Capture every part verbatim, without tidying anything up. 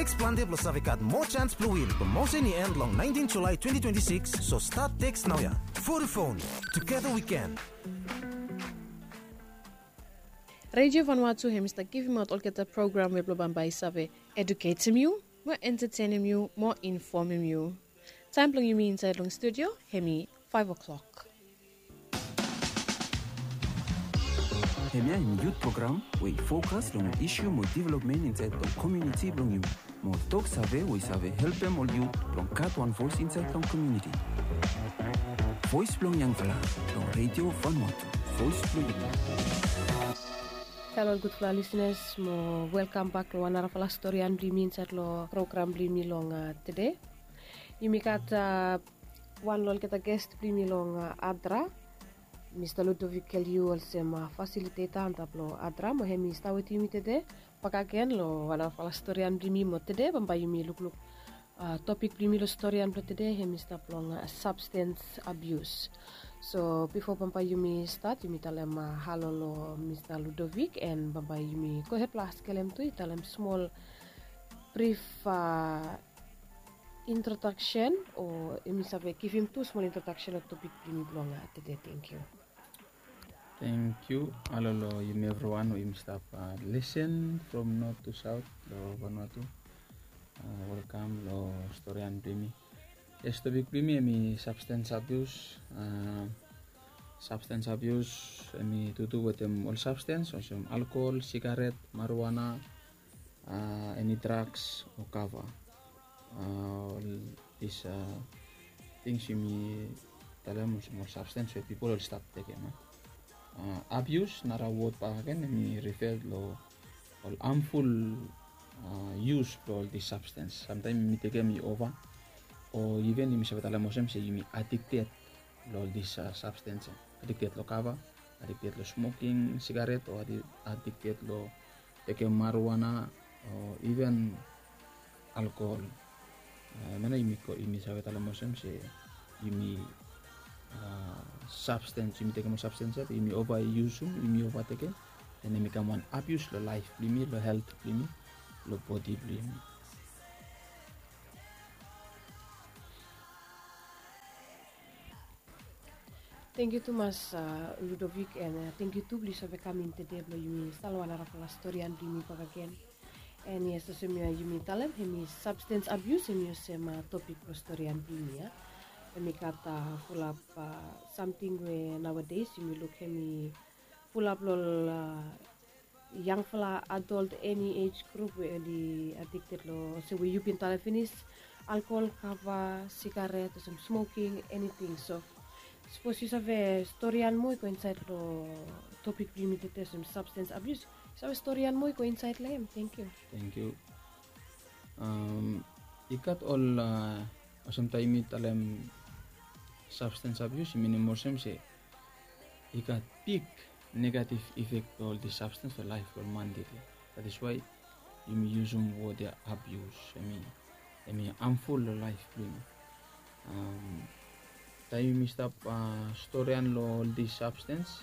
Teks plante blong save gat moa sans blong win. Promotion i en long nineteen July twenty twenty-six, so start teks naoia. Vodafone, together we can. Radio Vanuatu hemi stap givimaot olgeta program we blong bambae i save eduketem yu, mo entetenem yu, mo infomem yu. Taem blong yumi insaed long studio hemi five o'clock. Hemia hemi yut program we i fokas long ol isu mo developmen insaed long komuniti blong yumi, mo ol toksave we i save helpem ol yut blong gat wan voes insaed long komuniti. Voes blong yangfala long Radio Vanuatu, voes blong yumi. Halo ol gudfala lisenas, mo welkam bak long wan narafala storian blong yumi insaed long program blong yumi long, a, tede. Yumi gat, a, wan long olgeta ges blong yumi long, a, ADRA, Mista Ludovic Keliu, olsem, a, fasiliteta antap long ADRA, mo hemi stap wetem yumi tede bakegen long wan narafala storian blong yumi. Mo tede bambae yumi lukluk, a, topik blong yumi long storian blong tede hemi stap long, a, substance abuse. So bifo bambae yumi stat, yumi talem, a, halo long Mista Ludovic, and bambae yumi gohed blong askelem tu i talem smol brif, a, introdaksen, o yumi save givim tu smol introdaksen long topik blong yumi blong, a, tede. Tangkiu. Tangkiu. Halo long yumi evriwan we yumi stap, a, lisen from north to south long Vanuatu, a, welkam long storian blong yumi. Yes, topik blong yumi hemi substance abuse. A, substance abuse hemi tutu wetem ol substance olsem alkohol, sigaret, marijuana, a, eni drugs o kava. A, ol dis, a, tings yumi talem olsem ol substance we pipol oli stap tekem, a. A, abuse, nara wod bakegen, hemi refer long ol harmful, a, use blong ol dis substance. Samtaem yumi tekem i ova, o iven yumi save talem olsem se yumi addicted long ol dis, a, substance ya. Addicted long kava, addicted long smoking sigaret, o addi-, addicted long tekem marijuana, o iven alkohol. A, hemia nao yumi ko-, yumi save talem olsem se yumi, a, substance, yumi tekem ol substance ya, yumi ova yusum, yumi ova tekem, and hemi kam wan abuse long laef blong yumi, long helt blong yumi, long bodi blong yumi. Tangkiu tumas, a, Ludovic, and, a, tangkiu tu blong yu save kam in tede blong yumi stap long wan narafala storian blong yumi bakegen. And yes, olsem, a, yumi talem, hemi substance abuse, hemi olsem, a, topik blong storian blong yumi ya. Hemi gat, a, fulap, a, samting we nowadays yumi luk hemi fulap long ol, a, yangfala adult, eni age group we oli addicted long, olsem we yu bin talem finis, alkohol, kava, sigaret, olsem smoking, eniting. So sapos yu save storian moa i go insaed long topik blong yumi tede, olsem substance abuse, yu save storian moa i go insaed long hem? Tangkiu. Tangkiu. Am, i gat ol, a, olsem taem yumi talem substance abuse, i minim olsem se i gat big negative effect blong ol dis substance long laef blong ol man tede. That is why yumi yusum wod ya abuse, hemi, hemi harmful long laef blong yumi. Am, taem yumi stap, a, storian long ol dis substance,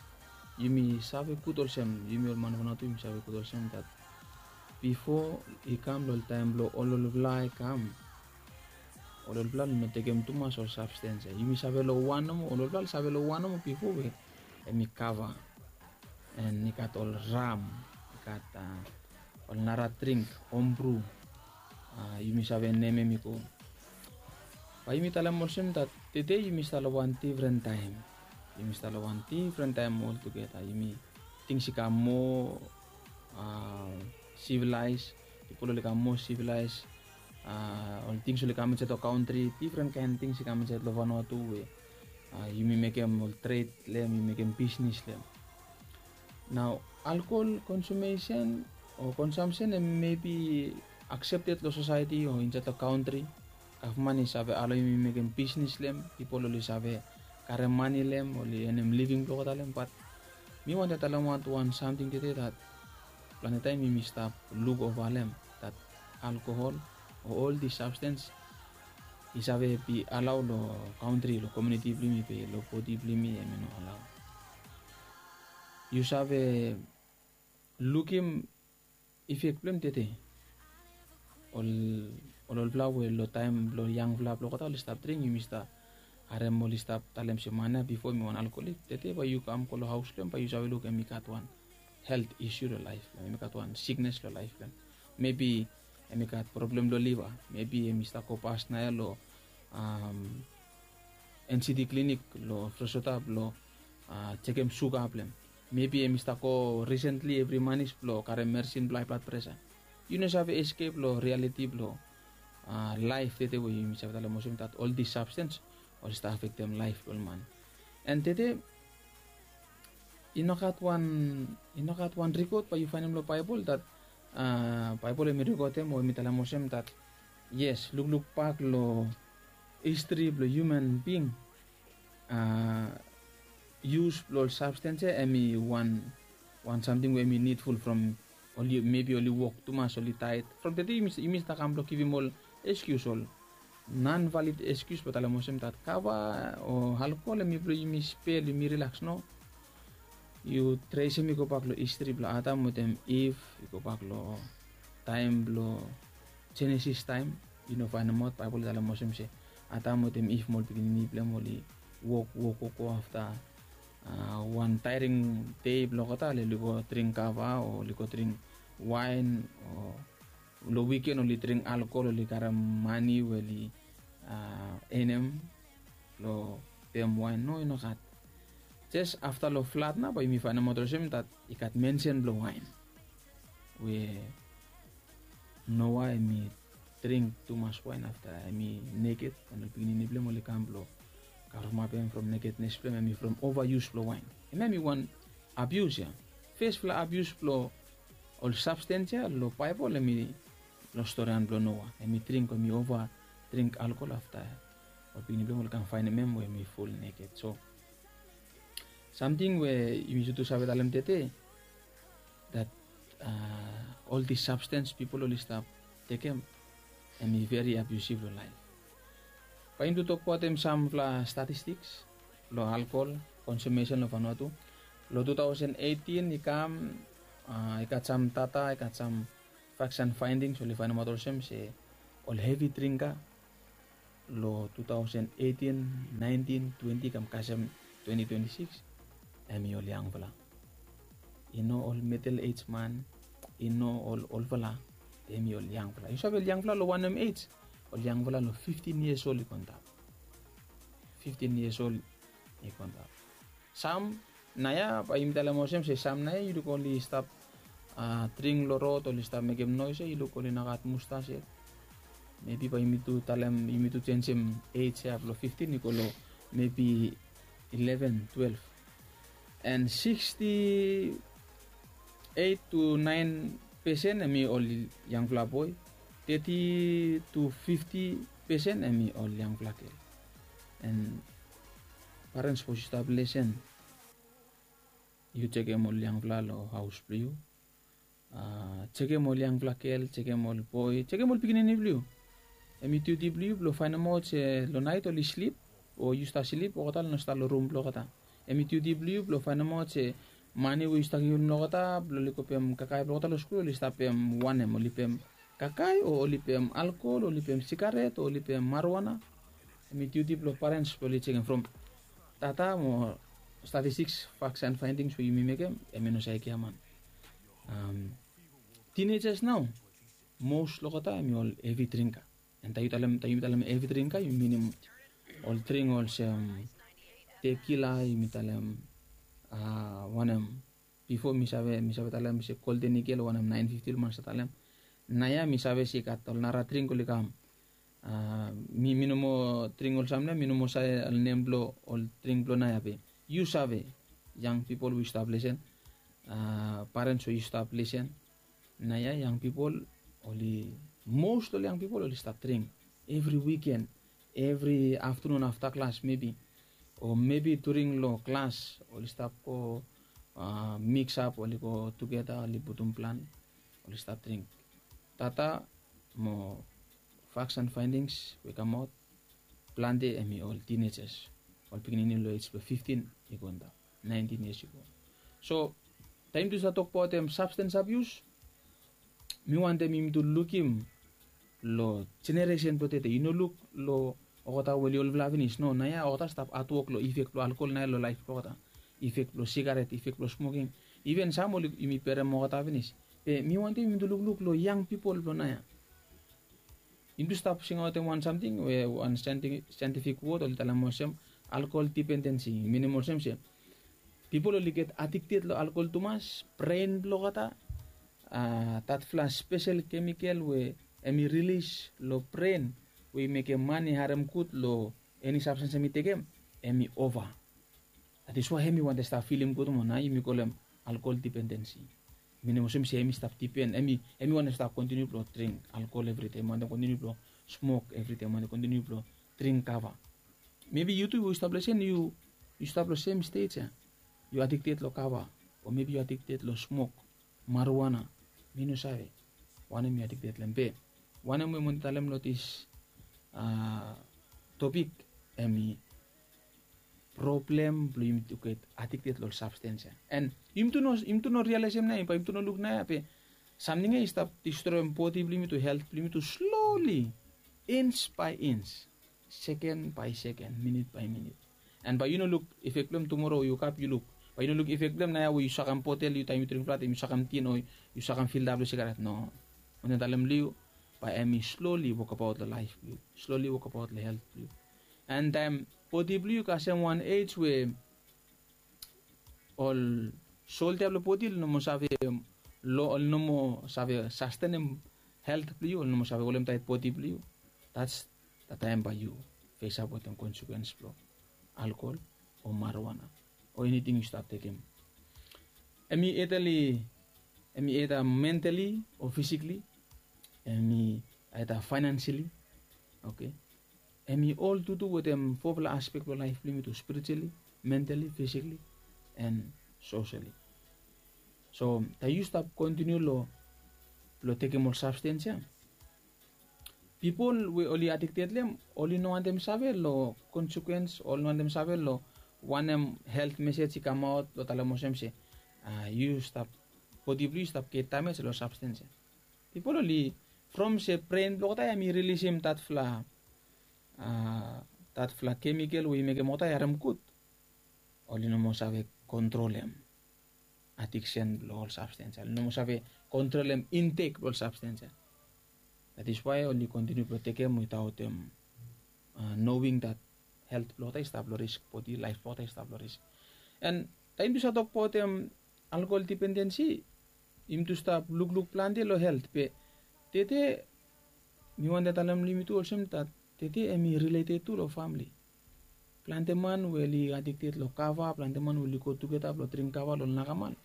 yumi save gud olsem, yumi ol man Vanuatu yumi save gud olsem that bifo i kam long ol taem blong ol olfala i kam, ol olfala oli no tekem tumas ol substance ya. Yumi save long wan nomo, ol olfala oli save long wan nomo bifo we hemi kava, and i gat ol ram, i gat, a, ol nara dring, homebrew. A, yumi save nemem i go. Bae yumi talem olsem that tede yumi stap long wan difren taem. Yumi stap long wan difren taem oltugeta. Yumi, tings i kam moa, a, sivelaes. Pipol oli kam moa sivelaes. A, ol tings oli kam insaed long kantri, difren kaen tings i kam insaed long Vanuatu we, a, yumi mekem ol tred long hem, yumi mekem bisnis long hem. Nao alkohol konsumesen o konsamsen hem mebi aksepted long sosaeti o insaed long kantri. Gavman i save alaoem yumi mekem bisnis long hem, pipol oli save karem mane long hem, oli enem living blong olgeta long hem, bat mi wantem talemaot wan samting tede that plante taem yumi stap luk ova long hem, that alkohol o ol dis substance i save be alao long kantri, long komuniti blong yumi, be long bodi blong yumi hemi no alao. Yu save lukim efek blong hem tede? ol ol olfala we long taem blong yangfala blong olgeta oli stap dring, yumi stap harem oli stap talem se man ya bifo hem i wan alkoholik. Tede bae yu kam go long haos blong hem bae yu save luk hem i gat wan helt isu long laef blong hem, hem i gat wan siknes long laef blong hem. Mebi hem i gat problem long liva, mebi hem i stap go pas naoia long NCD klinik long Fresota blong jekem suga blong hem. Mebi hem i stap go risentli evri manis blong karem meresin blong hae blad presa. Yu no save eskep long rialiti blong laef tede we yumi save talem olsem dat ol dis sabstens oli stap afektem laef blong ol man. An tede i no gat wan i no gat wan rikot bae yu faenem long Baebol dat Baebol hem i rikotem o hem i talem olsem dat yes, lukluk bak long histri blong hiuman bing, yus blong ol sabstens ya hem i wan wan samting we hem i nidful from oli mebi oli wok tumas, oli taet. From tede yumi stap kam blong givim ol eskius, ol non valid eskius blong talem olsem dat kava o alkohol hem i blong yumi spel, yumi rilaks, no. Yu tresem i gobak long histri blong Adam wetem Iv, i gobak long taem blong Jenesis taem, yu no faenemaot Baebol i talem olsem se Adam wetem Iv mo ol pikinini blong hem oli wok wok wok go afta wan taering dei blong olgeta oli go dring kava o oli go dring waen o long wiken oli dring alkohol, oli karem mane we oli enem long pem waen. No, i no gat. Jes afta long flad nao bae yumi faenemaot olsem dat i gat mensen blong waen we Noa hem i dring tumas waen afta hem i neked, an ol pikinini blong hem oli kam blong kavremapem from nekednes blong hem, hem i from ovayus blong waen. Hemia hem i wan abius ya. Fesfala abius blong ol sabstens ya long Baebol hem i long storian blong Noa. Hem i dring, hem i ova dring alkohol afta ol pikinini blong hem oli kam faenem hem we hem i ful neked. So samting we yumi tu save talem tede dat ol dis sabstens pipol oli stap tekem hem i veri abiusiv long laef. Bae yumi tu tokbaotem samfala statistiks long alkohol konsumesen long Vanuatu. Long tu taosen eitin i kam, i gat sam data, i gat sam faks an faendings oli faenemaot olsem se ol hevi dringka long tu taosen eitin, naentin, twenti kam kasem twenti twenti sikis, hem i ol yangfala. I no ol midel ej man, i no ol olfala, be hem i ol yangfala. Yu save ol yangfala long wanem ej? Ol yangfala long fiftin yias ol i go antap. Fiftin yias ol i go antap. Sam naoia bae yumi talem olsem se sam naoia yu luk oli stap dring long rod, oli stap mekem noes ya, yu luk oli no gat mustas yet. Mebi bae yumi tu talem, yumi tu jenisim ej ya blong fiftin i go long mebi ileven, twelef. An siksti eit tu naen pesen hem i ol yangfala boe, teti tu fifti pesen hem i ol yangfala gel. An parens, sapos yu stap lesen, yu jekem ol yangfala long haos blong yu. Jekem ol yangfala gel, jekem ol boe, jekem ol pikinini blong yu. Hem i diuti blong yu blong faenemaot se long naet oli slip o yu stap slip, olgeta oli no stap long rum blong olgeta. Hem i diuti blong yu blong faenemaot se mane we yu stap givim long olgeta blong oli go pem kakae blong olgeta long skul, oli stap pem wanem? Oli pem kakae o oli pem alkohol, oli pem sigaret o oli pem marijuana? Hem i diuti blong parens blong oli jekem from data mo statistiks, faks an faendings we yumi mekem, hem i no save giaman. Tinejas nao, mos long olgeta hem i ol hevi dringka. An taem yu talem, taem yumi talem hevi dringka, yumi minim ol dring olsem tekila, yumi talem wanem, bifo mi save, mi save talem se Golden Eagle o wanem, naen fifti ol man stap talem. Naoia mi save se i gat ol nara dring oli kam. Mi, mi no moa dring ol samting ya, mi no moa save ol nem blong ol dring blong naoia be yu save, yang pipol we yu stap lesen, parens we yu stap lesen, naoia yang pipol oli, mos long ol yang pipol oli stap dring evri wiken, evri aftanun afta klas mebi, o mebi during long klas oli stap go miksap, oli go tugeta, oli putum plan, oli stap dring. Data mo faks an faendings we i kamaot, plante hem i ol tinejas, ol pikinini long ej blong fiftin i go antap, naentin yias i go. So taem yumi tu stap tokbaotem sabstens abius, mi wantem yumi tu lukim long jeneresen blong tede. Yu no luk long olgeta we oli olfala finis. No, naoia olgeta stap hatwok long ifek blong alkol naoia long laef blong olgeta. Ifek blong sigaret, ifek blong smoking. Iven sam oli, yumi berem olgeta finis. Be mi wantem yumi tu lukluk long yang pipol blong naoia. Yumi tu stap singaotem wan samting we wan saentifik wod oli talem olsem alkol dipendensi. Minim olsem se pipol oli get adikted long alkol tumas, bren blong olgeta, datfala spesel kemikel we em i rilis long bren we i mekem man i harem gud long eni sabstens em i tekem, em i ova. That is why em i wantem stap filim gud moa, na yumi kolem alkol dipendensi. Minim olsem se em i stap dipen, em i wantem stap kontiniu blong dring alkol evri dei, em wantem kontiniu blong smok evri dei, em wantem kontiniu blong dring kava. Mebi yu tu we yu stap long sem, yu stap long sem stej ya. Yu adikted long kava, o mebi yu adikted long smok, marijuana. Mi no save wanem yu adikted long hem. Be wanem we mi wantem talem long dis topik, em i problem blong yumi tu get adikted long ol sabstens ya. And yumi tu no, yumi tu no rialaesem naoia, bae yumi tu no luk naoia, be samting ya i stap distroem bodi blong yumi tu, helt blong yumi tu sloli, ins bae ins, seken bae seken, minit bae minit. And bae yu no luk ifek blong hem tumora we yu ap yu luk. Bae yu no luk ifek blong hem naoia we yu sakem botel, yu taem yu dring flat, yu sakem tin, o yu sakem filta blong sigaret. No. Mi wantem talem long yu, bae em i sloli wokbaot long laef blong yu, sloli wokbaot long helt blong yu. And taem bodi blong yu i kasem wan ej we ol soldia blong bodi oli no moa save, oli no moa save sastenem helt blong yu, oli no moa save holemtaet bodi blong yu. That's the time bae yu fesap wetem konsekwens blong alkol o marijuana o eniting yu stap tekem. Em i either, em i either mentally o physically, em i either financially. Okay. Em i ol tutu wetem fofala aspek blong laef blong yumi tu, spiritually, mentally, physically, and socially. So taem yu stap kontiniu long, blong tekem ol sabstens ya, pipol we oli adikted long hem oli no wantem save long konsekwens, oli no wantem save long wanem helt mesej i kamaot blong talem olsem se yu stap, bodi blong yu stap get damej long sabstens ya. Pipol oli, from se bren blong olgeta ya em i rilisim datfala, datfala kemikel we i mekem olgeta i harem gud, oli no moa save kontrolem adiksen blong ol sabstens ya, oli no moa save kontrolem intek blong ol sabstens ya. That is why oli kontiniu blong tekem witaotem nowing that helt blong olgeta i stap long risk, bodi laef blong olgeta i stap long risk. And taem yumi tu save tokbaotem alkol dipendensi, yumi tu stap lukluk plante long helt, be tede mi wantem talem long yumi tu olsem that tede em i rileted tu long famle. Plante man we oli adikted long kava, plante man we oli go tugeta blong dring kava long ol nakaman,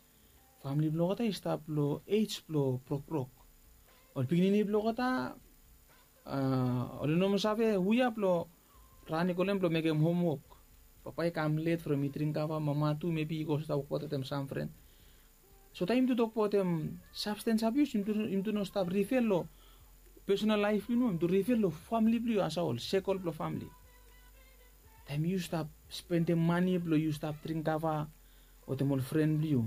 famle blong olgeta i stap long ej blong brokbrok. Ol pikinini blong olgeta oli no moa save hu ya blong ran i go long hem blong mekem homwok. Papa i kam let from i dring kava, mama tu mebi i go stap wokbaot wetem sam fren. So taem yumi tu tokbaotem sabstens abius, yumi tu no stap rifel long pesonal laef blong yumi, yumi tu rifel long famle blong yu, asawol, sekol blong famle. Taem yu stap spendem mane blong yu stap dring kava wetem ol fren blong yu,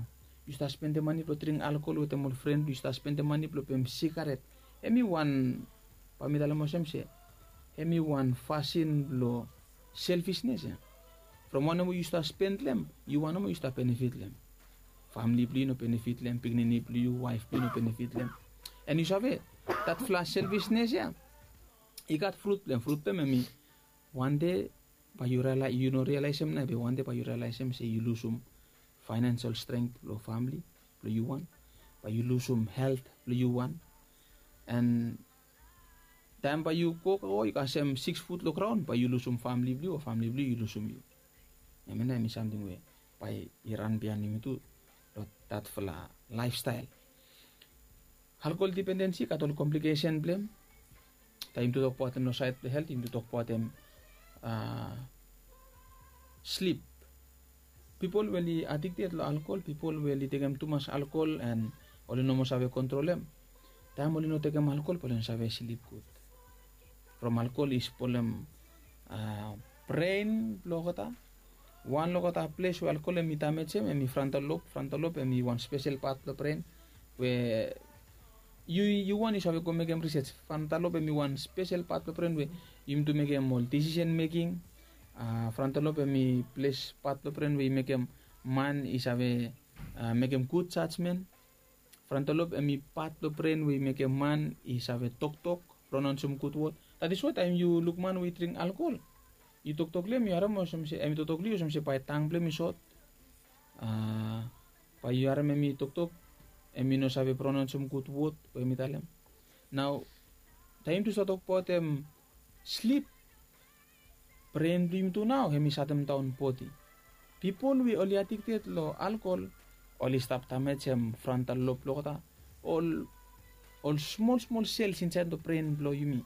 yu stap spendem mane blong dring alkol wetem ol fren blong yu, yu stap spendem mane blong pem sigaret, em i wan, bae mi talem olsem se em i wan fasin blong selfisnes ya. From wanem we yu stap spend long hem, yu wan nomo yu stap benefit long hem. Famle blong yu no benefit long hem, pikinini blong yu, waef blong yu no benefit long hem. And yu save, datfala selfisnes ya i gat frut blong hem. Frut blong hem em i, wande bae yu no rialaesem nao, be wande bae yu rialaesem se yu lusum faenensel strength blong famle blong yu wan, bae yu lusum helt blong yu wan. And taem bae yu go, go yu kasem siks fut long graon, bae yu lusum famle blong yu, o famle blong yu i lusum yu. Hemia nao em i samting we bae i ran biaen yumi tu long datfala laefstael. Alkol dipendensi i gat ol komplikesen blong hem. Taem yumi tu tokbaotem long saed blong helt, yumi tu tokbaotem slip. Pipol we oli adikted long alkol, pipol we oli tekem tumas alkol and oli no moa save kontrolem, taem oli no tekem alkol bae oli no save slip gud. From alkol i spolem bren blong olgeta. Wan long olgeta ples we alkol em i damejem em i frontal lobe. Frontal lobe em i wan spesel pat blong bren we yu wan yu save go mekem risej. Frontal lob em i wan spesel pat blong bren we yumi tu mekem ol disisen meking. Frontal lob em i ples pat blong bren we i mekem man i save mekem gud jajmen. Frontal lob em i pat blong bren we i mekem man i save toktok, pronaonsem gud wod. That is why taem yu luk man we i dring alkol, yu toktok long em, yu harem olsem se em i toktok long yu olsem se bae tang blong em i sot. Bae yu harem em i toktok, em i no save pronaonsem gud wod we em i talem. Nao taem yumi tu stap tokbaot em slip, bren blong yumi tu nao em i satemdaon bodi. Pipol we oli adikted long alkol oli stap damejem frontal lob blong olgeta, ol ol smol smol sels insaed long bren blong yumi,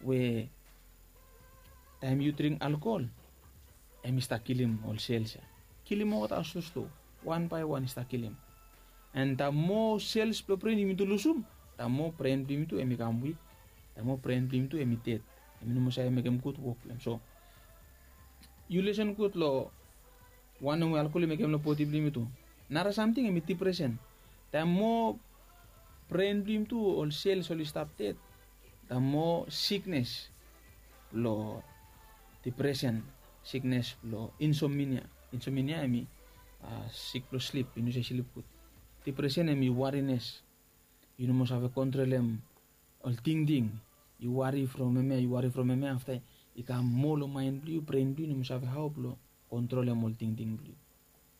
we taem yu dring alkol, em i stap kilim ol sels ya. Kilim olgeta slo slo, wan bae wan i stap kilim. And the more sels blong bren yumi tu lusum, the more bren blong yumi tu em i kam wik, the more bren blong yumi tu em i ded. Em i no moa save mekem gud wok blong em. So yu lesen gud long wanem we alkol i mekem long bodi blong yumi tu. Nara samting em i dipresen. Taem moa bren blong yumi tu ol sels oli stap ded, taem moa siknes blong dipresen, siknes blong insominia. Insominia em i sik blong slip, yu no save slip gud. Dipresen em i warines. Yu no moa save kontrolem ol tingting. Yu wari from hemia, yu wari from hemia, afta i kam moa long maen blong yu, bren blong yu no moa save hao blong kontrolem ol tingting blong yu.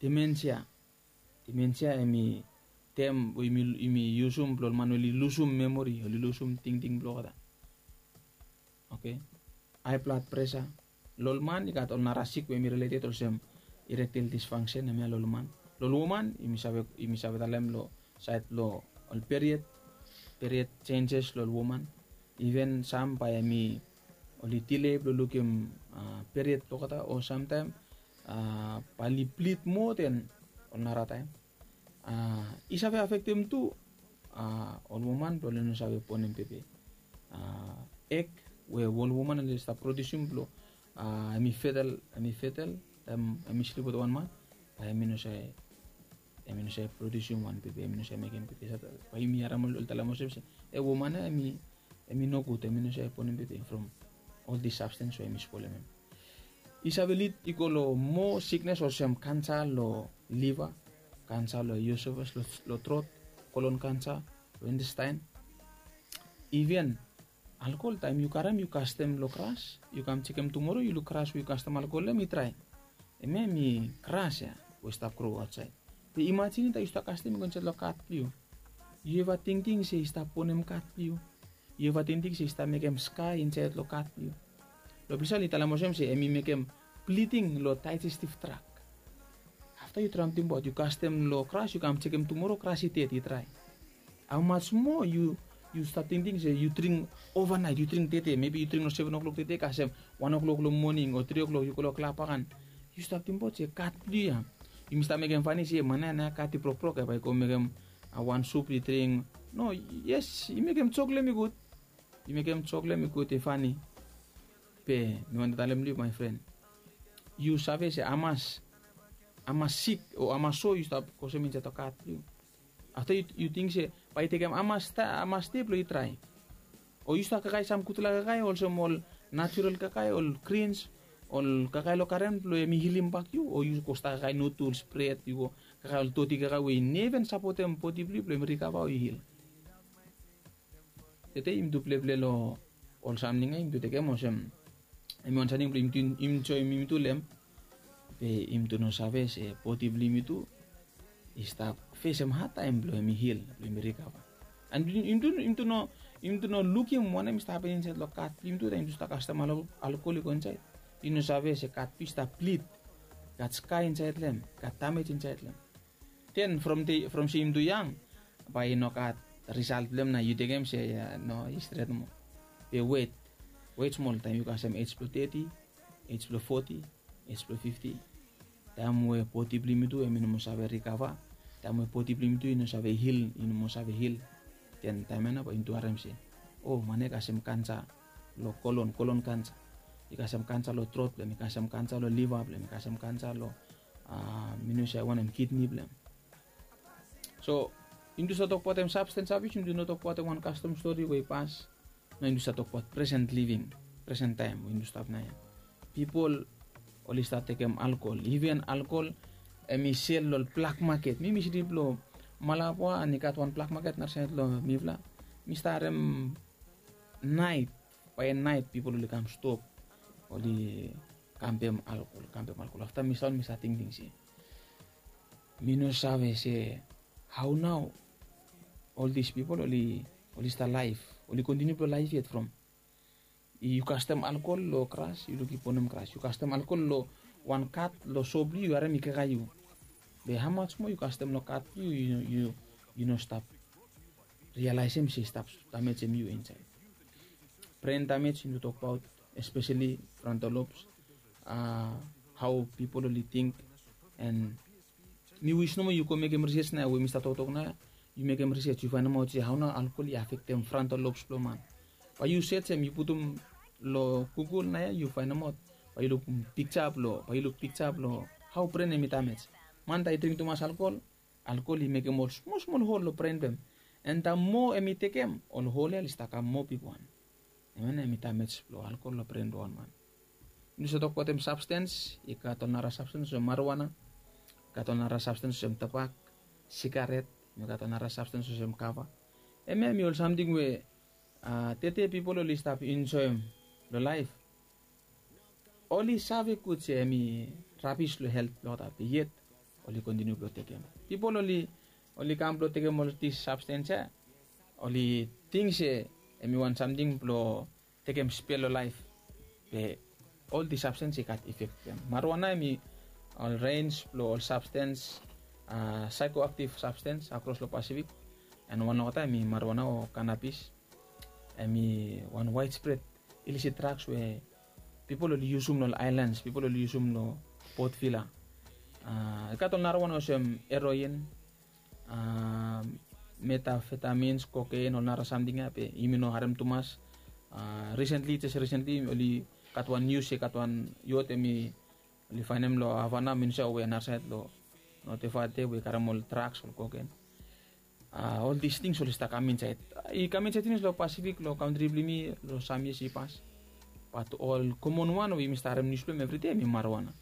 Demensia. Demensia em i tem we yumi yusum blong ol man oli lusum memori, oli lusum tingting blong olgeta. Oke. Hae blad presa. Long ol man i gat ol nara sik we em i rileted olsem erectile dysfunction, hemia long ol man. Long ol woman yumi save talem long saed blong ol period, period senses long ol woman. Iven sam bae em i oli dile blong lukim period blong olgeta, o samtaem bae oli blid moa den ol nara taem. I save afektem tu ol woman blong oli no save bonem pepe. Eg we ol woman oli stap prodiusim blong em i fetal, em i fetal taem em i slip wetem wan man, bae em i no save, em i no save prodiusim wan pepe, em i no save mekem pepe. Bae yumi harem oli talem olsem se e woman ya em i em i nogud, em i no save bonem pepe from ol dis sabstens we em i spolem em. I save lid i go long moa siknes olsem kansa long liva, kansa long iosofas, long trot, kolon kansa, long intestaen. Iven alkol, taem yu karem yu kastem long gras, yu kam jekem tumoro yu luk gras we yu kastem alkol long em i drae. Hemia em i gras ya we i stap gro aotsaed. Be imajin taem yu stap kastem i go insaed long kat blong yu. Yu eva tingting se i stap bonem kat blong yu? Yu eva tingting se i stap mekem skae insaed long kat blong yu? Long ples ya oli talem olsem se em i mekem bliding long daejestiv trak. Afta yu traem tingbaot, yu kastem long gras, yu kam jekem tumoro gras i ded, i drae. Haomas moa yu yu stap tingting se yu dring ovanaet, yu dring tede, mebi yu dring long seven o'clock tede, kasem wan o'clock long moning o tri o'clock yu go long klab akan. Yu stap tingbaot se kat blong yu ya. Yumi stap mekem fani se man ya nao kat i brokbrok ya, bae i go mekem wan sup i dring. No, yes, i mekem jok long em i gud. I mekem jok long em i gud, i fani. Be mi wantem talem long yu, my friend, yu save se hamas, hamas sik o hamas so yu stap kosem insaed long kat blong yu? Afta yu ting se bae i tekem hamas dei blong i drae? O yu stap kakae sam gudfala kakae olsem ol natural kakae, ol grins, ol kakae long garen blong em i hilim bak yu? O yu go stap kakae nuduls, bred, yu go kakae ol doti kakae we i neven sapotem bodi blong yu blong em i rikava o i hil? Tede yumi tu pleple long ol samting ya, yumi tu tekem olsem em i wan samting blong yumi tu joem yumi tu long em. Be yumi tu no save se bodi blong yumi tu i stap fesem hadtaem blong em i hil, blong em i rikava. And yumi tu no lukim wanem i stap hapen insaed long kat blong yumi tu taem yumi tu stap kastem alkol i go insaed. Yu no save se kat blong yu i stap blid, i gat skae insaed long em, i gat damej insaed long em. Den from se yumi tu yang, bae i no gat risalt blong em na yu tekem se no, i stret nomo. Be wet, wet smol, taem yu kasem ej blong teti, ej blong foti, ej blong fifti, taem we bodi blong yumi tu em i no moa save rikava, taem we bodi blong yumi tu i no save hil, i no moa save hil, den taem ya nao bae yumi tu harem se, o, man ya i kasem kansa long kolon, kolon kansa. I kasem kansa long trot blong em, i kasem kansa long liva blong em, i kasem kansa long, mi no save wanem, kidni blong em. So Yumi tu save tokbaot em sabstens abis, yumi tu no tokbaot em wan kastom stori we i pas. Nao yumi tu save tokbaot presen living, presen taem we yumi tu stap nao ya. Pipol oli stap tekem alkol, iven alkol em i sel long blak maket. Mi mi siti blong Malabwa, and i gat wan blak maket nasaed long mifala. Mi stap harem naet bae naet pipol oli kam stop, oli kampem alkol, kampem alkol. Afta mi stap mi stap tingting se mi no save se hao nao ol dis pipol oli oli stap laef, oli kontiniu blong laef yet from yu kastem alkol long gras, yu lukim bonem gras, yu kastem alkol long wan kat long so blong yu, yu harem i kaka yu. Be hamas moa yu kastem long kat blong yu, yu no stap rialaesem se i stap damejem yu insaed. Bren damej yumi tu tokbaot, espeseli frontal lobes, hao pipol oli ting. And mi wis nomo yu go mekem risej nao we mi stap toktok nao, yu mekem risej yu faenemaot se hao nao alkol i afektem frontal lobes blong man. Bae yu sejem, yu putum long Google nao ya, yu faenemaot, bae yu lukim pikja blong, bae yu luk pikja blong hao bren em i damej. Man taem i dring tumas alkol, alkol i mekem ol smol smol hol long bren blong em. And taem moa em i tekem, ol hol ya oli stap kam moa bigwan. Hemia nao em i damej blong alkol long bren blong wan man. Yumi tu save tokbaot em sabstens, i gat ol nara sabstens olsem marijuana, i gat ol nara sabstens olsem tobak, sigaret, i gat ol nara sabstens olsem kava. Hemia em i ol samting we tede pipol oli stap enjoem long laef. Oli save gud se em i rabis long helt blong olgeta, be yet oli kontiniu blong tekem. Pipol oli oli kam blong tekem ol dis sabstens ya, oli ting se em i wan samting blong tekem spel long laef. Be ol dis sabstens i gat ifek blong em. Marijuana em i ol rens blong ol sabstens, saekoaktiv sabstens akros long Pasifik. And wan long olgeta em i marijuana o kanabis. Em i wan waedspred ilisit draks we pipol oli yusum long ol aelans, pipol oli yusum long Port Vila. I gat ol narawan olsem heroin, metafetamins, koken, ol nara samting ya be yumi no harem tumas. Risentli, jes risentli oli gat wan nius se i gat wan yot em i oli faenem long Havana, Minsa, we narasaed long Note Vate, we i karem ol draks, ol koken. Ol dis tings oli stap kam insaed, i kam insaed finis long Pasifik, long kantri blong yumi long sam yias i pas. Bat ol komon wan we yumi stap harem nius blong hem evridei em i marijuana.